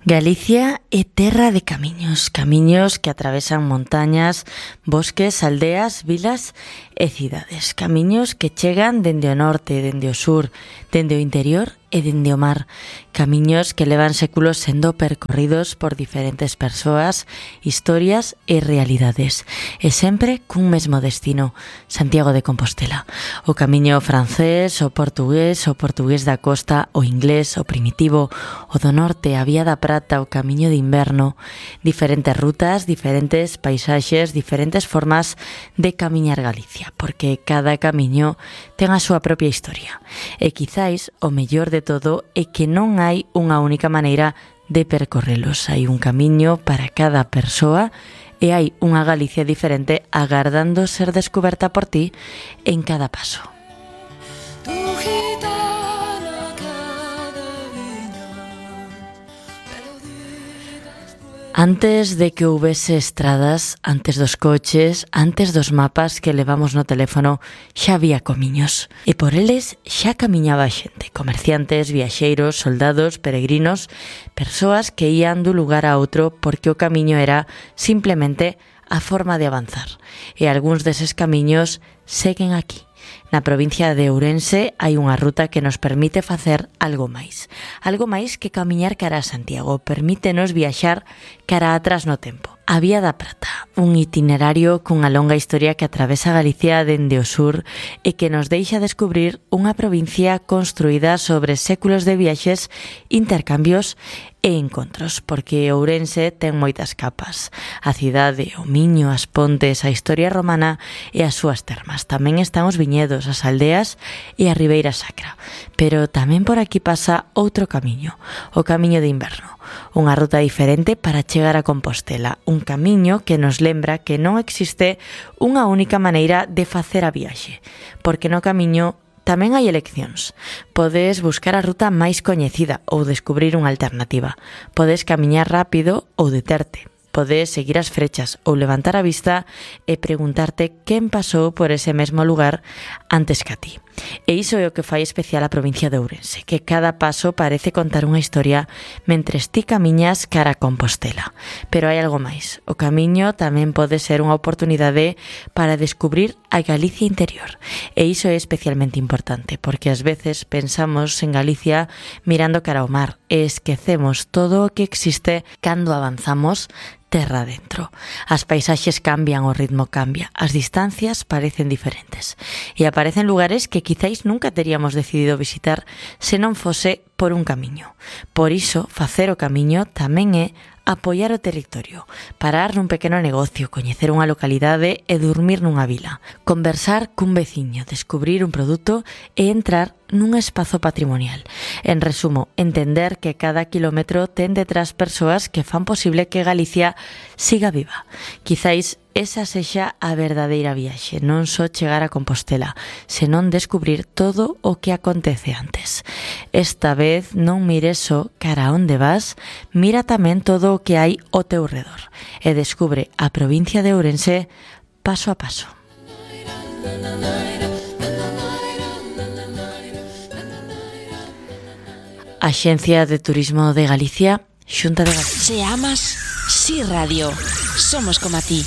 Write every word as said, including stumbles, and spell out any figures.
Galicia é terra de camiños, camiños que atravesan montañas, bosques, aldeas, vilas e cidades. Camiños que chegan dende o norte, dende o sur, dende o interior e dende o mar. Camiños que levan séculos sendo percorridos por diferentes persoas, historias e realidades. E sempre cun mesmo destino, Santiago de Compostela. O camiño francés, o portugués, o portugués da costa, o inglés, o primitivo, o do norte, a vía da prata, o camiño de inverno. Diferentes rutas, diferentes paisaxes, diferentes formas de camiñar Galicia, porque cada camiño ten a súa propia historia. E quizáis o mellor de todo é que non hai unha única maneira de percorrelos. Hai un camiño para cada persoa e hai unha Galicia diferente agardando ser descoberta por ti en cada paso. Antes de que houbese estradas, antes dos coches, antes dos mapas que levamos no teléfono, xa había camiños. E por eles xa camiñaba xente, comerciantes, viaxeiros, soldados, peregrinos, persoas que ían dun lugar a outro porque o camiño era simplemente a forma de avanzar. E algúns deses camiños seguen aquí. Na provincia de Ourense hai unha ruta que nos permite facer algo máis. Algo máis que camiñar cara a Santiago. Permítenos viaxar cara atrás no tempo. A Vía da Prata, un itinerario cunha longa historia que atravesa Galicia dende o sur e que nos deixa descubrir unha provincia construída sobre séculos de viaxes, intercambios e encontros, porque Ourense ten moitas capas. A cidade, o Miño, as pontes, a historia romana e as súas termas. Tamén están os viñedos, as aldeas e a Ribeira Sacra. Pero tamén por aquí pasa outro camiño, o camiño de inverno. Unha ruta diferente para chegar a Compostela, un camiño que nos lembra que non existe unha única maneira de facer a viaxe, porque no camiño tamén hai eleccións. Podes buscar a ruta máis coñecida ou descubrir unha alternativa. Podes camiñar rápido ou deterte. Podes seguir as frechas ou levantar a vista e preguntarte quen pasou por ese mesmo lugar antes que a ti. E iso é o que fai especial a provincia de Ourense, que cada paso parece contar unha historia mentres ti camiñas cara a Compostela. Pero hai algo máis. O camiño tamén pode ser unha oportunidade para descubrir a Galicia interior. E iso é especialmente importante, porque ás veces pensamos en Galicia mirando cara ao mar e esquecemos todo o que existe cando avanzamos terra dentro. As paisaxes cambian, o ritmo cambia, as distancias parecen diferentes e aparecen lugares que quizáis nunca teríamos decidido visitar se non fose por un camiño. Por iso, facer o camiño tamén é apoiar o territorio, parar nun pequeno negocio, coñecer unha localidade e dormir nunha vila, conversar cun veciño, descubrir un produto e entrar nun espazo patrimonial. En resumo, entender que cada kilómetro ten detrás persoas que fan posible que Galicia siga viva. Quizáis esa sexa a verdadeira viaxe, non só chegar a Compostela, senón descubrir todo o que acontece antes. Esta vez non mires só cara a onde vas, mira tamén todo o que hai ao teu redor e descubre a provincia de Ourense paso a paso. Axencia de Turismo de Galicia, Xunta de Galicia. Se amas, Si Radio. Somos como a ti.